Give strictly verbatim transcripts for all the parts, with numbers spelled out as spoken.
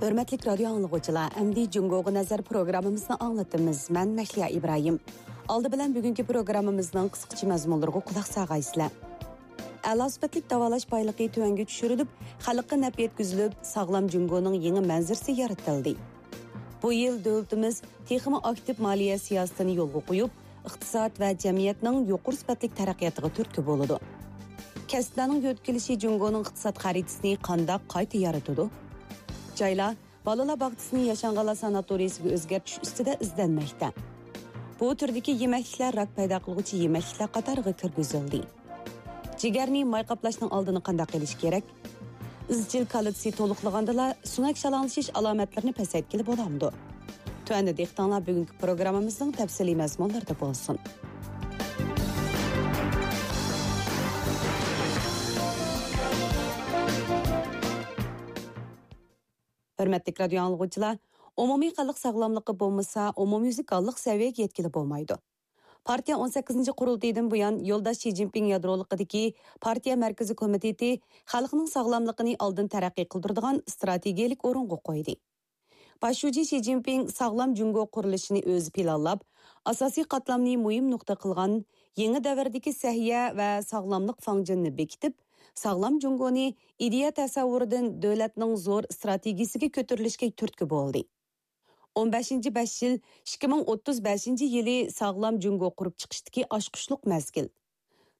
ھۆرمەتلىك رادىيو ئاڭلىغۇچىلار، ئەمدى جۇڭگوغا نەزەر پروگراممىمىزنى ئاڭلىتىمىز. مەن مەھلىيا ئىبراھىم. ئالدى بىلەن بۈگۈنكى پروگراممىمىزنىڭ قىسقىچە مەزمۇنلىرىغا قۇلاق سالغايسىلەر. ئەلا سۈپەتلىك داۋالاش بايلىقى تۆۋەنگە چۈشۈرۈلۈپ، خەلققە نەپ يەتكۈزۈلۈپ، ساغلام جۇڭگونىڭ يېڭى مەنزىرىسى يارىتىلدى. بۇ يىل دۆلىتىمىز تېخىمۇ ئاكتىپ مالىيە سىياسىتىنى يولغا قويۇپ، ئىقتىساد ۋە جەمئىيەتنىڭ يۇقىرى سۈپەتلىك تەرەققىياتىغا تۈرتكە بولىدۇ. كەسىپلەرنىڭ يۆتكىلىشى جۇڭگونىڭ ئىقتىساد خەرىتىسىنى قانداق قايتا يارىتىدۇ؟ جايلار بالىلار باغچىسىنى ياشانغانلار ساناتورىيىسىگە ئۆزگەرتىش ئۈستىدە ئىزدەنمەكتە. بۇ تۈردىكى يېمەكلىكلەر راك پەيدا قىلغۇچى يېمەكلىكلەر قاتارىغا كىرگۈزۈلدى. جىگەرنى ماي قاپلاشنىڭ ئالدىنى قانداق ئېلىش كېرەك؟ ئىزچىل كالتسىي تولۇقلىغاندىلا سۆڭەك شالاڭلىشىش ئالامەتلىرىنى پەسەيتكىلى بولامدۇ؟ تۆۋەندە دىققىتىڭلار بۈگۈنكى پروگراممىمىزنىڭ تەپسىلىي مەزمۇنلىرىدا بولسۇن. ھۆرمەتلىك رادىيو ئاڭلىغۇچىلار، ئومۇمىي خەلق ساغلاملىقى بولمىسا، ئومۇميۈزلۈك ھاللىق سەۋىيەگە يەتكىلى بولمايدۇ. پارتىيە ئون سەككىزىنچى قۇرۇلتىيىدىن بۇيان يولداش شى جىنپىڭ يادرولۇقىدىكى پارتىيە مەركىزىي كومىتېتى خەلقنىڭ ساغلاملىقىنى ئالدىن تەرەققىي قىلدۇرىدىغان ئىستراتېگىيەلىك ئورۇنغا قويدى. باش شۇجى شى جىنپىڭ ساغلام جۇڭگو قۇرۇلۇشىنى ئۆزى پىلانلاپ، ئاساسىي قاتلامنى مۇھىم نۇقتا قىلغان يېڭى دەۋردىكى سەھىيە ۋە ساغلاملىق فاڭجېنىنى بېكىتىپ، ساغلام جۇڭگونى ئىدىيە تەسەۋۋۇرىدىن دۆلەتنىڭ زور ئىستراتېگىيىسىگە كۆتۈرۈلۈشكە تۈرتكە بولدى. ئون بەشىنچى بەش يىل، ئىككى مىڭ ئوتتۇز بەشىنچى يىلى ساغلام جۇڭگو قۇرۇپ چىقىشتىكى ئاچقۇچلۇق مەزگىل.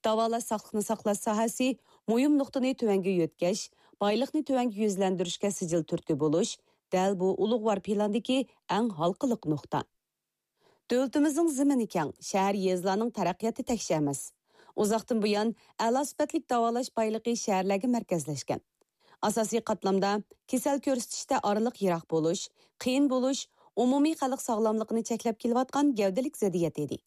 داۋالاش ساقلىقنى ساقلاش ساھەسى مۇھىم نۇقتىنى تۆۋەنگە يۆتكەش، بايلىقنى تۆۋەنگە يۈزلەندۈرۈشكە سىجىل تۈرتكە بولۇش، دەل بۇ ئۇلۇغۋار پىلاندىكى ئەڭ ھالقىلىق نۇقتا. دۆلىتىمىزنىڭ زېمىنى كەڭ، شەھەر، يېزىلارنىڭ تەرەققىياتى تەكشى ئەمەس. ئۇزاقتىن بۇيان ئەلا سۈپەتلىك داۋالاش بايلىقى شەھەرلەرگە مەركەزلەشكەن. ئاساسىي قاتلامدا كېسەل كۆرسىتىشتە ئارىلىق يىراق بولۇش، قىيىن بولۇش ئومۇمىي خەلق ساغلاملىقىنى چەكلەپ كېلىۋاتقان گەۋدىلىك زىددىيەت ئىدى.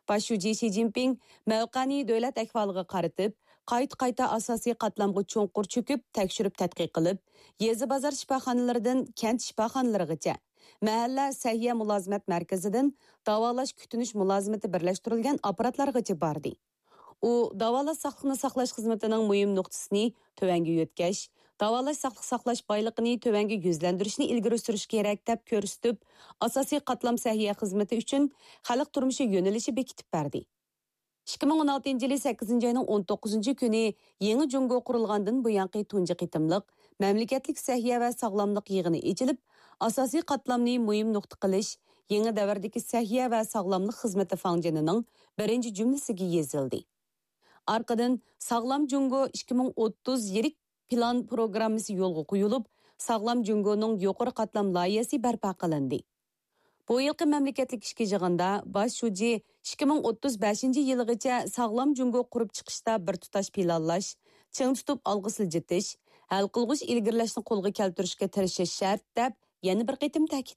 باش شۇجى شى جىنپىڭ مەۋقەنى دۆلەت ئەھۋالىغا قارىتىپ، قايتا-قايتا ئاساسىي قاتلامغا چوڭقۇر چۆكۈپ، تەكشۈرۈپ تەتقىق قىلىپ، يېزا بازار شىپاخانىلىرىدىن كەنت شىپاخانىلىرىغىچە، مەھەللە سەھىيە مۇلازىمەت مەركىزىدىن داۋالاش كۈتۈنۈش مۇلازىمىتى بىرلەشتۈرۈلگەن ئاپپاراتلارغىچە باردى. ئۇ داۋالاش ساقلىقنى ساقلاش خىزمىتىنىڭ مۇھىم نۇقتىسىنى تۆۋەنگە يۆتكەش، داۋالاش ساقلىق ساقلاش بايلىقىنى تۆۋەنگە يۈزلەندۈرۈشنى ئىلگىرى سۈرۈش كېرەك، دەپ كۆرسىتىپ، ئاساسىي قاتلام سەھىيە خىزمىتى ئۈچۈن خەلق تۇرمۇشى يۆنىلىشى بېكىتىپ بەردى. ئىككى مىڭ ئون ئالتىنچى يىلى سەككىزىنچى ئاينىڭ ئون توققۇزىنچى كۈنى يېڭى جۇڭگو قۇرۇلغاندىن بۇيانقى تۇنجى قېتىملىق مەملىكەتلىك سەھىيە ۋە ساغلاملىق يىغىنى ئېچىلىپ، ئاساسىي قاتلامنى مۇھىم نۇقتا قىلىش، يېڭى دەۋردىكى سەھىيە ۋە ساغلاملىق خىزمىتى فاڭجېنىنىڭ بىرىنچى جۈملىسىگە يېزىلدى. ئارقىدىن ساغلام جۇڭگو ئىككى مىڭ ئوتتۇز يىللىق پىلان پروگراممىسى يولغا قويۇلۇپ، ساغلام جۇڭگونىڭ يۇقىرى قاتلام لايىھەسى بەرپا قىلىندى. بۇ يىلقى مەملىكەتلىك ئىككى يىغىندا باش شۇجى ئىككى مىڭ ئوتتۇز بەشىنچى يىلىغىچە ساغلام جۇڭگو قۇرۇپ چىقىشتا بىر تۇتاش پىلانلاش، چىڭ تۇتۇپ ئالغا سىلجىتىش، ھەل قىلغۇچ ئىلگىرىلەشنى قولغا كەلتۈرۈشكە تىرىشىش شەرت، دەپ يەنە بىر قېتىم تەكىتلىدى.